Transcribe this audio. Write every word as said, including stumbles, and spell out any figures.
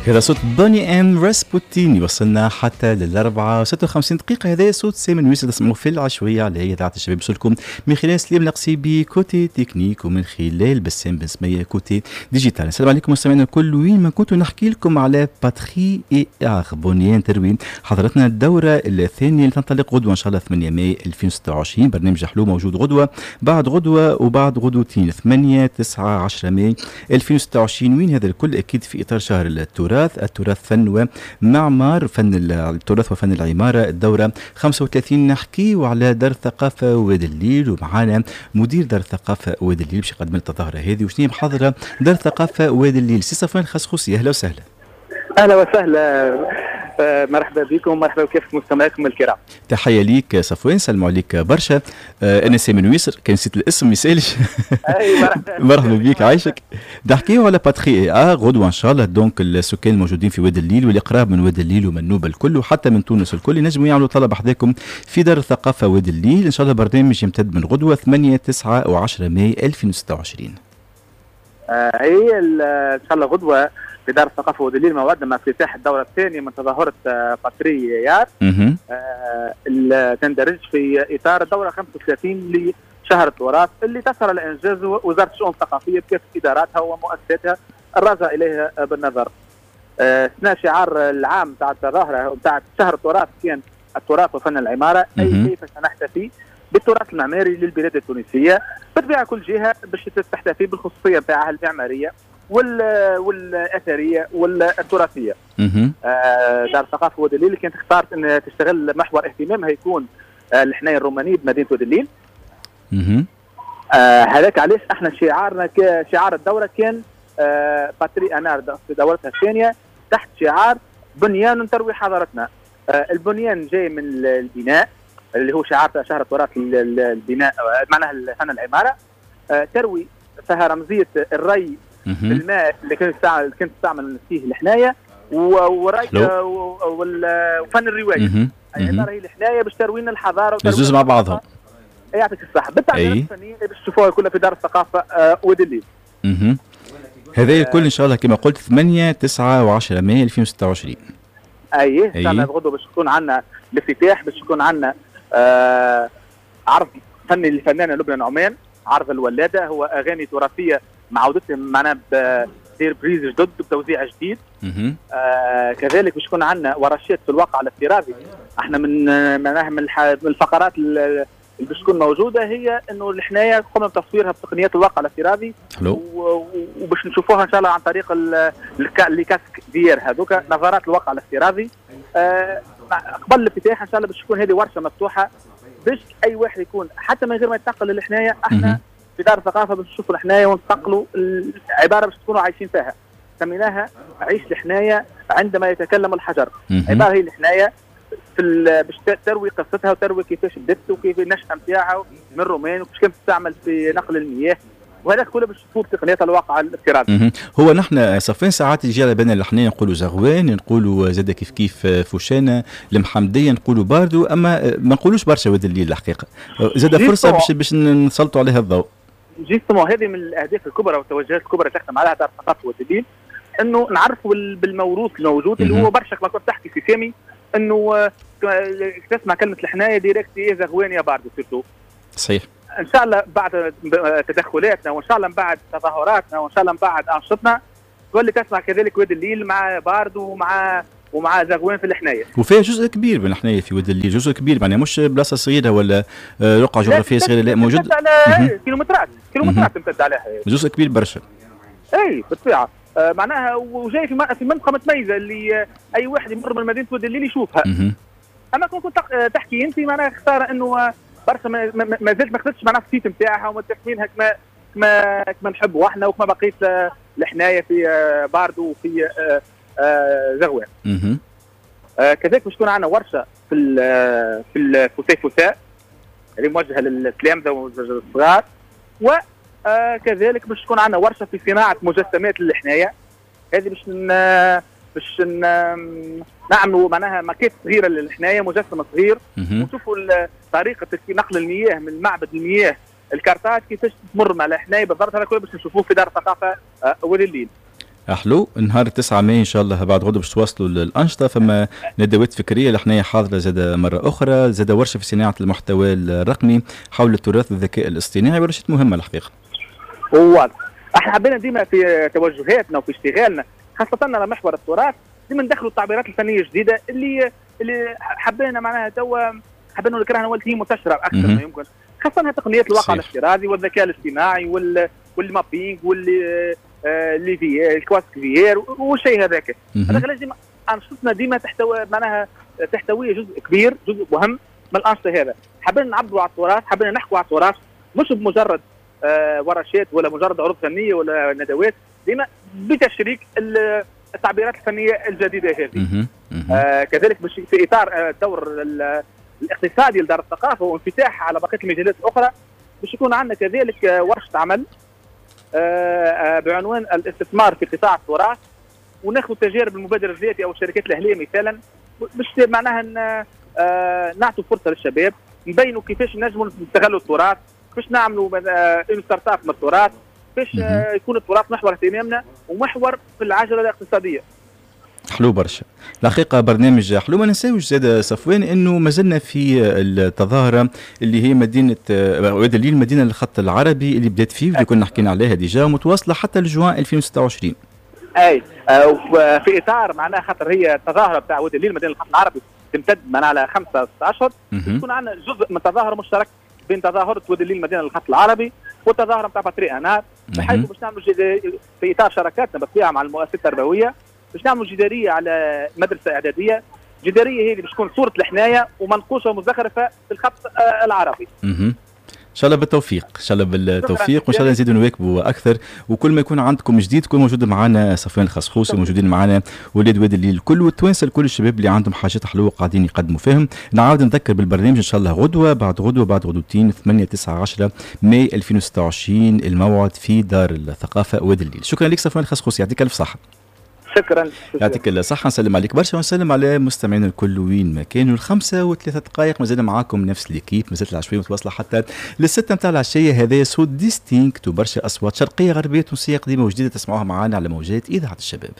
هذا صوت Boney M Rasputin يوصلنا حتى للأربعة وستة وخمسين دقيقة. هذا صوت سامي نويس تسمعوا في العشوية على إذاعة الشباب، يوصلكم من خلال سليم القصيبي côté technique ومن خلال بسام بن سمية côté digital. السلام عليكم مستمعينا الكل وين ما كنتوا، نحكي لكم على patrie et art بنيان تروي حضرتنا الدورة الثانية اللي تنطلق غدوة إن شاء الله ثمانية ماي ألفين وستة وعشرين. برنامج حلو موجود غدوة بعد غدوة وبعد غدوتين ثمانية تسعة عشرة ماي ألفين وستة وعشرين. وين هذا الكل أكيد في إطار شهر التراث، التراث فن ومعمار، فن التراث وفن العمارة، الدورة خمسة وثلاثين. نحكي وعلى دار الثقافة واد الليل ومعانا مدير دار الثقافة واد الليل باش يقدم لنا التظاهرة هذه وشنو هي محاضرة دار الثقافة واد الليل. سي صفوان الخصخوصي، أهلا وسهلا. أهلا وسهلا، مرحبا بكم، مرحبا بكافة مستمعيكم الكرام. تحية ليك صفوان، سلموا عليك برشا. أنا سامي نويسر، كان نسيت الاسم ما يسالش. مرحبا مرحبا بك، عايشك. نحكيو على patrie et art غدوة إن شاء الله. donc السكان الموجودين في واد الليل واللي قراب من واد الليل ومن نوبة الكل وحتى من تونس الكل ينجموا يعملوا طلب حذاكم في دار الثقافة واد الليل. إن شاء الله برنامج يمتد من غدوة ثمانية تسعة وعشرة ماي ألفين وستة وعشرين. هي إن شاء الله غدوة في دار الثقافة واد الليل موعدنا مع افتتاح الدورة الثانية من تظاهرة patrie et art، آه تندرج في إطار الدورة خمسة وثلاثين لشهر التراث اللي تسهر على إنجاز وزارة الشؤون الثقافية بكافة إداراتها ومؤسساتها الراجع إليها بالنظر. آه سنة شعار العام تاع التظاهرة تاع شهر التراث كان التراث وفن العمارة، أي كيف سنحتفي بالتراث المعماري للبلاد التونسية. بالطبيعة كل جهة باش تحتفي بالخصوصية نتاعها المعمارية والاثريه والتراثيه. آه دار الثقافة واد الليل كانت اختارت ان تشتغل محور اهتمامها يكون آه الحنايه الرومانية بمدينة واد الليل. آه هذاك علاش احنا شعارنا شعار الدورة كان آه patrie et art في دورتها الثانية تحت شعار بنيان تروي حضارتنا. آه البنيان جاي من البناء اللي هو شعار شهر التراث البناء معناها فن العمارة. آه تروي فيها رمزية الري الماء اللي كانت تستعمل كانت تستعمل فيه الحنايه وري وفن الرواية. يعني هي الحنايه باش تروينا الحضارة الزوز مع بعضهم. يعطيك الصحة بالتعبيرات الفنية اللي باش تشوفوها كلها في دار الثقافة واد الليل. هذا الكل ان شاء الله كما قلت ثمانية تسعة وعشرة ماي ألفين وستة وعشرين. اي ان شاء الله غدوه باش يكون عندنا الافتتاح، باش يكون عندنا آه عرض فني للفنانه لبنى نعمان، عرض الولاده، هو اغاني تراثيه معودتهم معناها ب des reprises جدد بتوزيع جديد. آه كذلك باش يكون عندنا ورشات في الواقع الافتراضي. احنا من معناها من الفقرات اللي باش تكون موجودة هي انه الحنايه قمنا بتصويرها بتقنيات الواقع الافتراضي، وباش نشوفوها ان شاء الله عن طريق les casques VR هذوك نظارات الواقع الافتراضي. آه قبل الافتتاح ان شاء الله باش تكون هذه ورشه مفتوحة باش اي واحد يكون حتى من غير ما يتنقل للحنايه. احنا في دار الثقافة باش نشوفوا الحنايه ونتنقلوا العبارة باش تكونوا عايشين فيها، سميناها عيش الحنايه عندما يتكلم الحجر. عبارة هي الحنايه في باش تروي قصتها وتروي كيفاش بدت وكيف النشأة نتاعها من الرومان وكيفاش كانت تستعمل في نقل المياه، وهذا كله باش تفوت تقنيات الواقع الافتراضي. هو نحن صفين ساعات يجي على بالنا الحنايه نقولوا زغوان، نقولوا زاد كيف كيف فوشانه، المحمدية نقولوا باردو، اما ما نقولوش برشا واد الليل الحقيقة. زاد فرصة باش باش نسلطوا عليها الضوء. justement هذه من الاهداف الكبرى والتوجهات الكبرى اللي تخدم عليها دار الثقافة واد الليل، انه نعرفوا بالموروث الموجود اللي هو برشا كما كنت تحكي في سامي انه تسمع كلمة الحنايه direct يا زغوان يا باردو surtout. صحيح. ان شاء الله بعد تدخلاتنا وان شاء الله من بعد تظاهراتنا وان شاء الله من بعد انشطتنا تولي تسمع كذلك واد الليل مع باردو ومع ومع زغوان في الحنايه. وفيها جزء كبير من الحنايه في واد الليل، جزء كبير معناها مش بلاصة صغيرة ولا رقعه جغرافية صغيرة، لا موجود على كيلومترات كيلومترات تمتد عليها جزء كبير برشا. اي بالطبيعة آه معناها وجاي في في منطقة متميزة اللي اي واحد يمر من مدينة واد الليل يشوفها. اما كنت تحكي انت معناها خسارة انه برشا ما زلت ما خدتش معناها ال site نتاعها وما تكوينها كما كما كما نحبوا احنا وكما بقيت الحنايه في باردو وفي زغوان. كذلك باش تكون عندنا ورشه في في الفسيفساء اللي موجهة للتلامذه والصغار، وكذلك باش تكون عندنا ورشه في صناعة مجسمات للحنايه. هذه باش باش نعملوا معناها ماكيت صغيرة للحنايه، مجسم صغير، ونشوفوا طريقه نقل المياه من معبد المياه الكارتاج كيفاش تمر مع الحنايه بالضبط. هذا كله باش نشوفوه في دار الثقافة واد الليل. حلو، نهار تسعة ماي ان شاء الله بعد غدوه باش تواصلوا الانشطه، فما ندوات فكرية اللي حاضره زاد مرة اخرى، زاد ورشه في صناعة المحتوى الرقمي حول التراث والذكاء الاصطناعي، ورشات مهمة الحقيقة. واضح، احنا حبينا ديما في توجهاتنا وفي اشتغالنا خاصة على محور التراث ديما ندخلوا التعبيرات الفنية الجديدة اللي اللي حبينا معناها توا حبينا نكرهها ولات هي منتشرة اكثر ما يمكن، خاصة تقنيات الواقع الافتراضي والذكاء الاصطناعي وال وال mapping واللي les VR ال casques VR والشيء هذاك. هذا لازم انشطتنا ديما تحتوي معناها تحتوي جزء كبير، جزء مهم من الانشطة هذا. حبينا نعبروا على التراث، حبينا نحكوا على التراث مش بمجرد آه ورشات ولا مجرد عروض فنية ولا ندوات، ديما بتشريك التعبيرات الفنية الجديدة هذه. آه كذلك في اطار الدور الاقتصادي لدار الثقافة وانفتاحها على بقية المجالات الاخرى، باش يكون عندنا كذلك ورشه عمل آه بعنوان الاستثمار في قطاع التراث، وناخذ تجارب المبادرة الذاتية او الشركات الاهلية مثالا، باش معناها آه نعطوا فرصة للشباب، نبينوا كيفاش نجموا نستغلوا التراث، كيفاش نعملوا une startup من التراث، كيفاش يكون التراث محور اهتمامنا ومحور في العجلة الاقتصادية. حلو برشا الحقيقة، برنامج حلو. ما ننساوش زاد صفوان انه ما زلنا في التظاهرة اللي هي مدينة واد الليل، مدينة الخط العربي اللي بدات فيه واللي كنا حكينا عليها déjà، متواصلة حتى لجوان ألفين وستة وعشرين. اي في اطار معناها خاطر هي التظاهرة بتاع واد الليل مدينة الخط العربي تمتد معناها على خمسة اشهر، يكون عندنا جزء من تظاهرة مشترك بين تظاهرة واد الليل مدينة الخط العربي والتظاهره نتاع patrie en art، بحيث باش نعملوا في اطار شراكاتنا بالطبيعة مع المؤسسات التربوية، باش نعملوا جداريه على مدرسه اعدادية، جداريه هي اللي باش تكون صوره الحنايه ومنقوشه ومزخرفه في الخط العربي. ان شاء الله بالتوفيق، ان شاء الله بالتوفيق، وان شاء الله نزيدوا نواكبوا اكثر، وكل ما يكون عندكم جديد تكون موجود معنا صفوان الخصخوصي، وموجودين معنا ولاد واد الليل الكل والتوانسه الكل، الشباب اللي عندهم حاجات حلوة قاعدين يقدموا فيهم. نعاود نذكر بالبرنامج ان شاء الله غدوه بعد غدوه بعد غدوتين ثمانية تسعة عشرة ماي ألفين وستة وعشرين الموعد في دار الثقافة واد الليل. شكرا لك صفوان الخصخوصي، يعطيك الف صحة. شكرا، يعطيك الصحة، نسلم عليك برشا ونسلم على مستمعينا الكل وين ما كانوا. الخمسة وثلاثة دقائق مازال معاكم نفس l'équipe، مازالت العشوية متواصلة حتى للستة نتاع العشية. هذا صوت ديستينكت وبرشا أصوات شرقية غربية تونسية قديمة وجديدة تسمعوها معانا على موجات إذاعة الشباب.